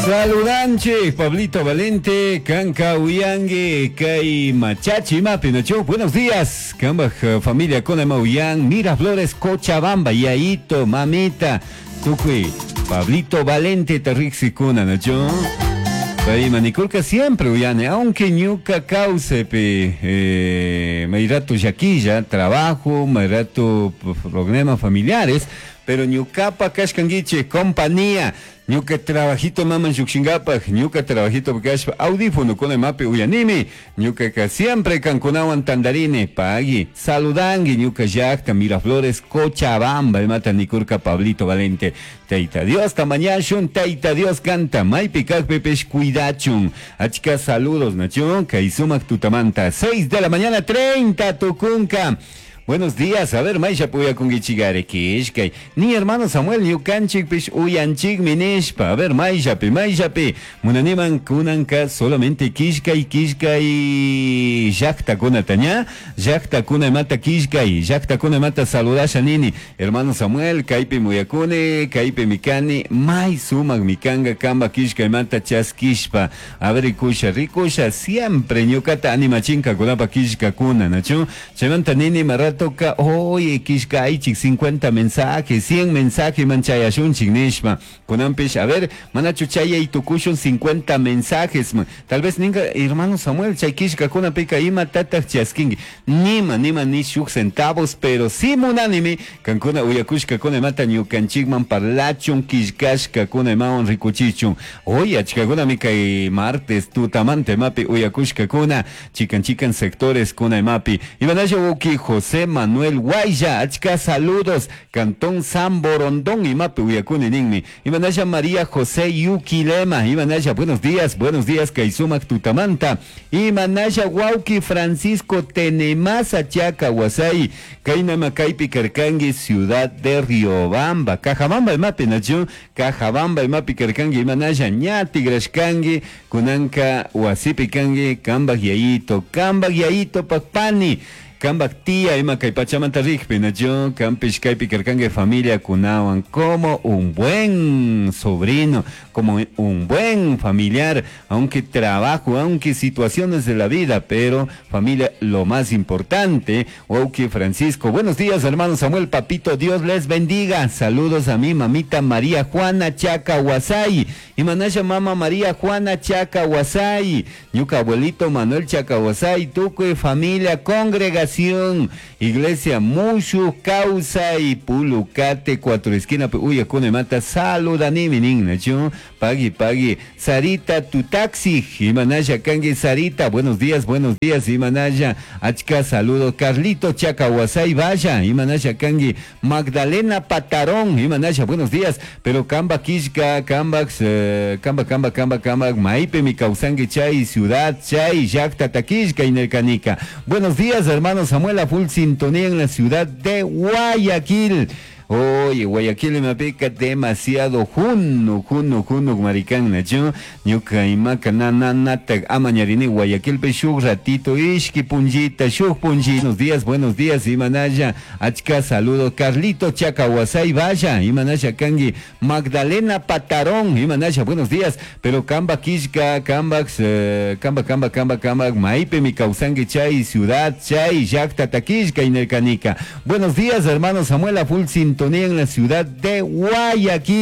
Saludanchik, Pablito Valente, Kanka uyangi, kay Machachi imapi, nachu? Buenos días, kambaj familia kuna ima uyan, Miraflores, Cochabamba, Yaito, mamita, tukuy, Pablito Valente tarriksikuna, nachu? Pay manikurka siempre uyani, aunque ñuka kawsaypi may rato llaquilla, trabajo, may rato problemas familiares, pero ñukapa kashkankichik compañía, ñuka trabajito maman llukshinkapaj, ñuka trabajito kashpa audífono kuna imapi uyanimi, ñukaka siempre kankunawan tandarini, pagui, saludangi ñuka llakta Miraflores, Cochabamba, imata nikurka Pablito Valente. Tayta Diosta mañashun, Tayta Dios kanta, maypi kakpipish cuidachun. Achka saludos, nachu, kay sumak tutamanta, 6 de la mañana, 30 tukunka. Buenos días, a ver, mayllapi uyakunkichikari kishkay. Ni hermano Samuel ñukanchikpish uyanchikmi nishpa. A ver, mayllapi, mayllapi. Munaniman kunanka solamente kishkay, kishkay llaktakunata ña. Llaktakuna imata kishkay, llaktakuna imata saludasha nini. Hermano Samuel, kaypi muyakuni, kaypi mikani, may sumak mikanga kamba kishkay imata chaskishpa. A ver, rikusha, rikusha, siempre ñukata animachinkakunapa kishkakuna, nachu? Chaymanta nini maratoka, oye, kishkaychik 50 mensajes, 100 mensajes man chayashunchik nishpa. Kunanpish, a ver, manachu chayay tukushun 50 mensajes man. Tal vez ninga, hermano Samuel, chay kishkakunapika imatataq chaskinki. Nima, nima, ni shuk centavos, pero sí munanimi, kankuna uyakushkakuna imata ñukanchikman parlachun, killkashkakuna imawan rikuchichun. Oye, achkakunami kay martes tutamanta imapi uyakushkakuna, chikan chikan sectores kuna imapi. Imanasha wawki José Manuel Guaya, achka saludos, Cantón San Borondón, imapi uyakuni ninmi. Imanasha María José Yuquilema, Imanasha, buenos días, kay sumak tutamanta. Imanasha wawki Francisco Tenemasa Chaca Wasay, kaynama kaypi karkanki Ciudad de Riobamba, Cajabamba imapi nachu, Cajabamba imapi karkanki, Imanasha ña tigrashkanki, kunanka wasipi kanki, kambaj yayito, kambaj yayito pakpani, kambaj tía ima kay pachamanta rikpi nachu, kampish kaypi karkanki familia kunawan, como un buen sobrino, como un buen familiar, aunque trabajo, aunque situaciones de la vida, pero familia lo más importante. Wauki Francisco, buenos días hermano Samuel, papito, Dios les bendiga. Saludos a mi mamita María Juana Chaca Huasay, y manasha mama María Juana Chaca Huasay, ñuka abuelito Manuel Chaca Huasay, tukuy familia, congregación, iglesia Mushu, Causa y Pulucate, cuatro esquina, uyakuna imata, saludanimi nin, pagui, pagui, Sarita, tu taxi, Imanaya kangi Sarita, buenos días, buenos días, Imanaya, achka saludo, Carlito Chacahuasay, vaya, Imanaya kangi, Magdalena Patarón, Imanaya, buenos días, pero Kamba Kishka, Kamba, Kamba, Kamba, Kamba, Kamba, Maipe, mi causangi chay, ciudad chay, Yacta Taquishka, Inercanica. Buenos días, hermano Samuel, a full sintonía en la ciudad de Guayaquil. Oye, Guayaquil me pica demasiado juno, juno, juno, maricán, nacho. Ñuka imaka na na na ta amañarini Guayaquil pe shuk ratito, ishki punjita, shuk punji. Buenos días, Imanaya, achka saludo, Carlito Chacahuasay, vaya, Imanaya kangi, Magdalena Patarón, Imanaya, buenos días, pero Kamba Kishka, Kamba, Kamba, Kamba, Kamba, Kamba, Maipe, mi causangi chay, ciudad chay, Yacta Taquishka, Inercanica. Buenos días, hermano Samuel, a full sintonía en la ciudad de Guayaquil.